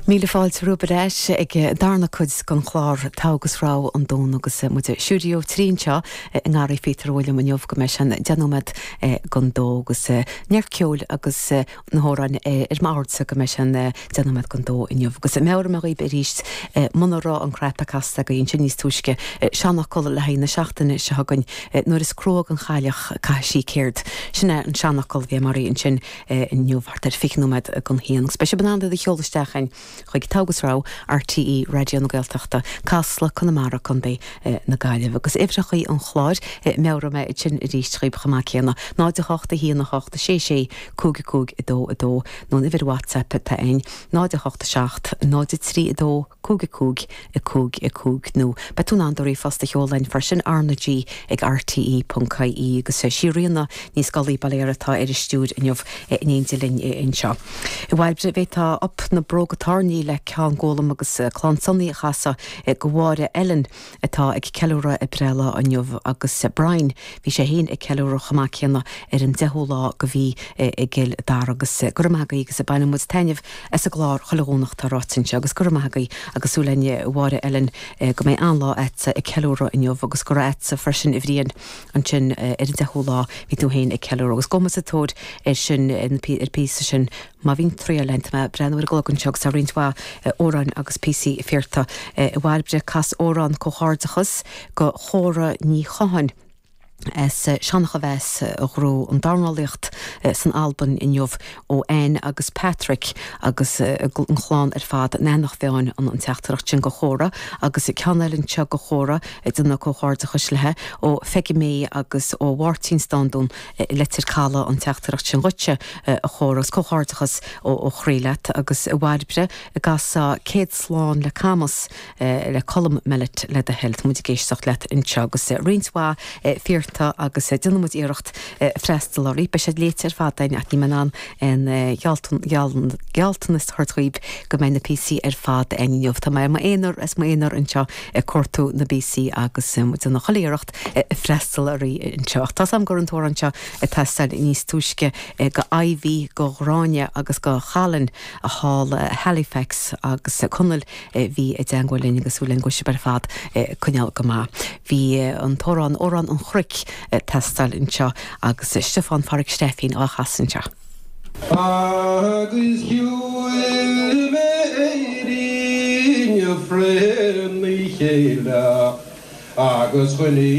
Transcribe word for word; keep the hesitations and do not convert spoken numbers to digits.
Míle fáilte romhaibh ar ais ag darna cuid den chlár Togha agus Rogha an Domhnach agus muid i stiúideo trí anseo i nGarraí Phíotair Uilliam inniu go mbeidh sé an deich nóiméad don dó agus neart ceoil agus na hamhráin ar m'ordsa go mbeidh sé an deich nóiméad don dó inniu agus meabhróidh mé dhaoibh arís muna raibh an cnaipe casta agaibh ansin níos túisce seanfhocal le haghaidh na seachtaine seo chugainn nuair is crua don chailleach caithfidh sí céard sin é an seanfhocal bhí mar ansin inniu thart ar fiche nóiméad don haon agus beidh sibh in ann iad a sheoladh isteach chuig Togha agus Rogha RTÉ Raidió na Gaeltachta Casla Conamara Contae na Gaillimhe agus uimhreacha an chláir meabhróidh mé sin arís dhaoibh chomh maith céanna náid a hocht a haon a hocht sé sé cúig cúig a dó a dó nó an uimhir WhatsApp atá ann náid a hocht a seacht náid a trí a dó cúig cúig a cúig a cúig nó beidh tú in ann do ríomhphost a sheoladh freisin RnaG ag RTE ponc ie agus sí Ríona Ní Scolaí Baile atá ar an stiúir inniu in éindí linn anseo. I bhFailbre bhéitá op na bróga tairní le Ceann Gólam agus Clann Sonaí a chasadh do Mháire Ellen atá ag ceiliúradh a breithlá inniu agus Brian bhí sé féin ag ceiliúradh chomh maith céanna ar an deichiú lá de mhí i gCill Dara agus go raibh maith agaibh agus baineann muid taitneamh as an gclár chuile Dhomhnach tá ráite anseo agus go raibh maith agaibh agus súil linn Mháire Ellen go mbeidh an-lá agatsa ag ceiliúradh inniu agus go raibh agatsa freisin a Bhriain ansin ar an deichiú lá bhí tú féin ag ceiliúradh agus go sa tóir ar sin ar píosa sin má bhíonn triail lent mé breathnú ar an gclog anseo agus tá roinnt mhaith amhráin agus píosaí iarrtha i bhFairbre cas amhrán comhghairdeachas go Chóra Ní Chothain. as Seancha Bheas a ghnóthaigh an dornálaíocht san Albain inniu ó Anne agus Patrick agus an chlann ar fad in Eanach Mheáin an an teachtaireacht sin go Chóra agus ceann eile anseo go Chóra déanamh comhghairdeachais léi ó Pheige May agus ó Mháirtín Standún Leitir Caladh an teachtaireacht sin dhuitse a Chóra agus comhghairdeachas ó ó chroí leat agus i bhFairbre i gcasa céad slán le Camas le Colm Mellett le do thoil muid ag éisteacht leat anseo agus roinnt mhaith iarrtha agus déanfaidh muid iarracht freastal orthu beidh siad léite ar fad ach ní an an gealltanas a thabhairt dhaoibh go mbeidh na píosaí ar fad inniu Tá mé m'aonar as m'aonar anseo ag cuartú na bpíosaí agus déanamh chuile iarracht freastal orthu anseo. Tá sam gur an t-amhrán anseo ag teastáil níos túisce go Ivy go Ghráinne agus go Chalin a thall Halifax agus Conall bhí i dteagmháil linn agus súil go sib ar fad coinneáil go maith. Bhí an t-amhrán Amhrán an Chnoic teastáil anseo agus Stiofán Phádraig Stefín á chasadh anseo. Agus shiúil mé éirí fréna chéile agus chuní